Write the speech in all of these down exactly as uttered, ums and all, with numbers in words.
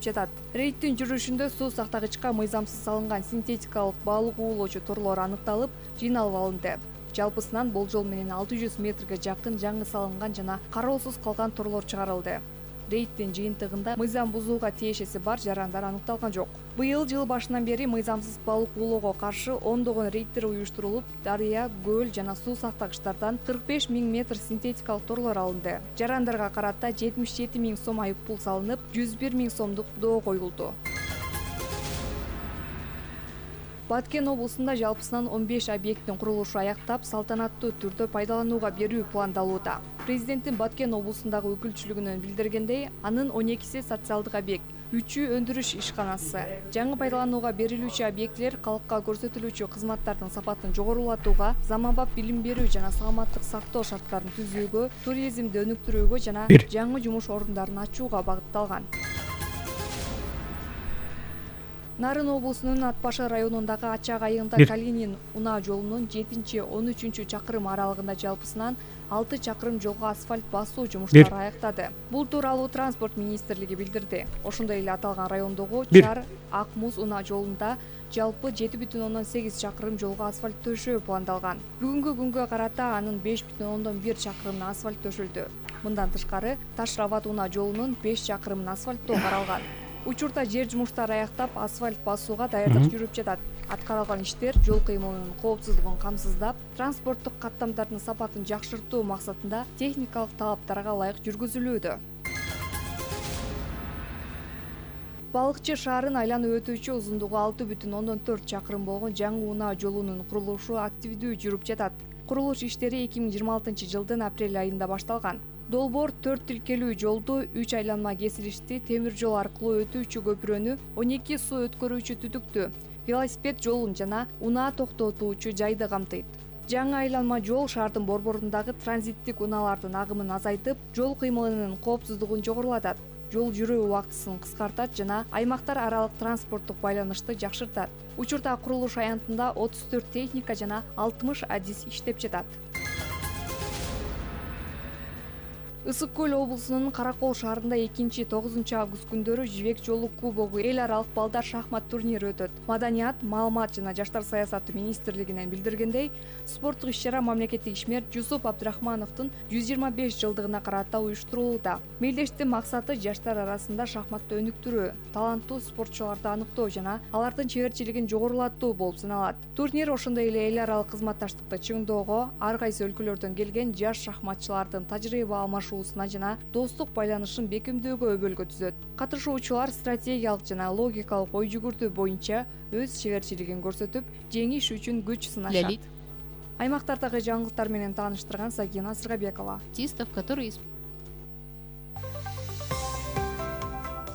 жатат. Рейдтин жүрүшүндө суу сактагычка мыйзамсыз салынган синтетикалык балык уулоочу торлор аныкталып, жыйналып алынды. Жалпысынан болжол менен алты жүз метрге жакын жаңы салынган жана кароосуз калган торлор чыгарылды. Рейдтин жыйынтыгында мыйзам бузууга тиешеси бар жарандар аныкталган жок. Быйыл жыл башынан бери мыйзамсыз балык уулоого каршы ондогон рейдтер уюштурулуп, дарыя, көл жана суу сактагычтардан кырк беш миң метр синтетикалык торлор алынды. Жарандарга карата жетимиш жети миң сом айып пул салынып, жүз бир миң сомдук доо коюлду. Баткен облусунда жалпысынан он беш объекттин курулушу аяктап, салтанаттуу түрдө пайдаланууга берүү пландалууда. Президенттин Баткен облусундагы өкүлчүлүгүнөн билдиргендей, анын он экиси социалдык объект, үчү өндүрүш ишканасы. Жаңы пайдаланууга берилүүчү объектилер калкка көрсөтүлүүчү кызматтардын сапатын жогорулатууга, заманбап билим берүү жана саламаттык сактоо шарттарын түзүүгө, туризмди өнүктүрүүгө жана жаңы жумуш орундарын ачууга багытталган. Нарын облусунун Ат башы районундагы Ачак айылында Калинин унаа жолунун жетинчи он үчүнчү чакырым аралыгында жалпысынан алты чакырым жолго асфальт басуу жумуштары аяктады. Бул тууралуу транспорт министрлиги билдирди. Ошондой эле аталган райондогу Чар Ак Муз унаа жолунда жалпы жети бүтүн ондон сегиз чакырым жолго асфальт төшөө пландалган. Бүгүнкү күнгө карата анын беш бүтүн ондон бир чакырымына асфальт төшөлдү. Мындан тышкары Таш Рабат унаа жолунун беш чакырымын асфальттоо каралган. Учурда жер жумуштары аяктап, асфальт басууга даярдык жүрүп жатат. Аткарылган иштер жол кыймылынын коопсуздугун камсыздап, транспорттук каттамдардын сапатын жакшыртуу максатында техникалык талаптарга ылайык жүргүзүлүүдө. Балыкчы шаарын айланып өтүүчү узундугу алты бүтүн ондон төрт чакырым болгон жаңы унаа жолунун курулушу активдүү жүрүп жатат. Курулуш иштери эки миң жыйырма алтынчы жылдын апрель айында башталган. Долбоор төрт тилкелүү жолду, үч айланма кесилишти, темир жол аркылуу өтүүчү көпүрөнү, он эки суу өткөрүүчү түтүктү, велосипед жолун жана унаа токтотуучу жайды камтыйт. Жаңы айланма жол шаардын борборундагы транзиттик унаалардын агымын азайтып, жол кыймылынын коопсуздугун жогорулатат, жол жүрүү убактысын кыскартат жана аймактар аралык транспорттук байланышты жакшыртат. Учурда курулуш аянтында отуз төрт техника жана алтымыш адис иштеп жатат. Ысык көл облусунун Каракол шаарында экинчи тогузунчу август күндөрү Жибек жолу кубогу эл аралык балдар шахмат турнири өтөт. Маданият, маалымат жана жаштар саясаты министрлигинен билдиргендей, спорттук иш-чара мамлекеттик ишмер Жусуп Абдрахмановдун жүз жыйырма беш жылдыгына карата уюштурулууда. Мелдештин максаты жаштар арасында шахматты өнүктүрүү, таланттуу спортчуларды аныктоо жана алардын чеберчилигин жогорулатуу болуп саналат. Турнир ошондой эле эл аралык кызматташтыкты чыңдоого, ар кайсы өлкөлөрдөн келген жаш шахматчылардын тажрыйба алмашуу жана достук байланышын бекемдөөгө өбөлгө түзөт. Катышуучулар стратегиялык жана логикалык ой жүгүртүү боюнча өз чеберчилигин көрсөтүп, жеңиш үчүн күч сынашат. Аймактардагы жаңылыктар менен тааныштырган Сагина Сыргабекова. Тистов, который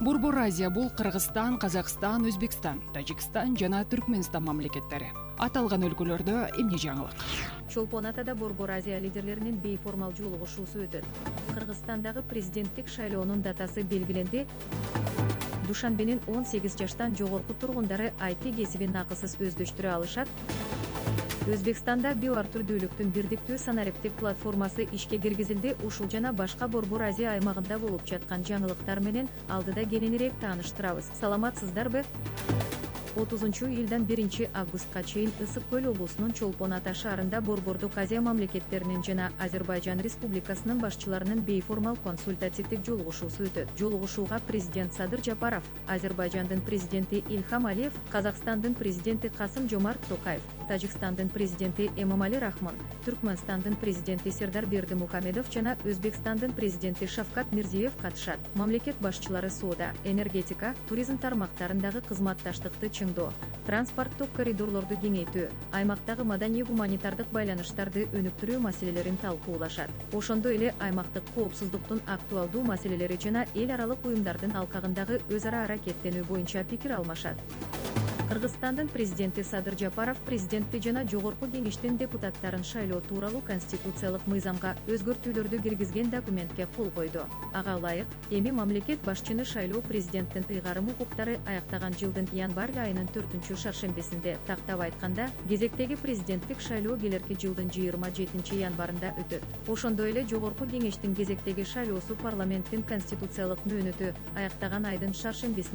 Борбор Азия бул Кыргызстан, Казакстан, Өзбекстан, Тажикстан жана Түркмөнстан мамлекеттери. Аталган өлкөлөрдө эмне жаңылык? Чолпон Атада Борбор Азия лидерлеринин бейформал жолугушуусу өтөт. Кыргызстандагы президенттик шайлоонун датасы белгиленди. Душанбенин он сегиз жаштан жогорку тургундары ай ти кесибин акысыз өздөштүрө алышат. Өзбекстанда биоар түрдүүлүктүн бирдиктүү санариптик платформасы ишке киргизилди. Ушул жана башка Борбор Азия аймагында болуп жаткан жаңылыктар менен алдыда кененирээк тааныштырабыз. Саламатсыздарбы? отузунчу июлдан биринчи августка чейин Ысык көл облусунун Чолпон Ата шаарында Борбордук Азия мамлекеттеринин жана Азербайжан Республикасынын башчыларынын бейформал консультативдик жолугушуусу өтөт. Жолугушууга президент Садыр Жапаров, Азербайжандын президенти Ильхам Алиев, Казакстандын президенти Касым Жомарт Токаев, Тажикстандын президенти Эмомали Рахмон, Түркмөнстандын президенти Сердар Бердимухамедов жана Өзбекстандын президенти Шавкат Мирзиев катышат. Мамлекет башчылары соода, энергетика, туризм тармактарындагы кызматташтыкты чыңдоо, транспорттук коридорлорду кеңейтүү, аймактагы маданий-гуманитардык байланыштарды өнүктүрүү маселелерин талкуулашат. Ошондой эле аймактык коопсуздуктун актуалдуу маселелери жана эл аралык уюмдардын алкагындагы өз ара аракеттенүү боюнча пикир алмашат. Кыргызстандын президенти Садыр Жапаров президентти жана жогорку кеңештин депутаттарын шайлоо тууралуу конституциялык мыйзамга өзгөртүүлөрдү киргизген документке кол койду. Ага ылайык, эми мамлекет башчыны шайлоо президенттин ыйгарым укуктары аяктаган жылдын январь айынын төртүнчү шаршембесинде, тактап айтканда, кезектеги президенттик шайлоо келерки жылдын жыйырма жетинчи январында өтөт. Ошондой эле жогорку кеңештин кезектеги шайлоосу парламенттин конституциялык мөөнөтү аяктаган айдын шаршембесинде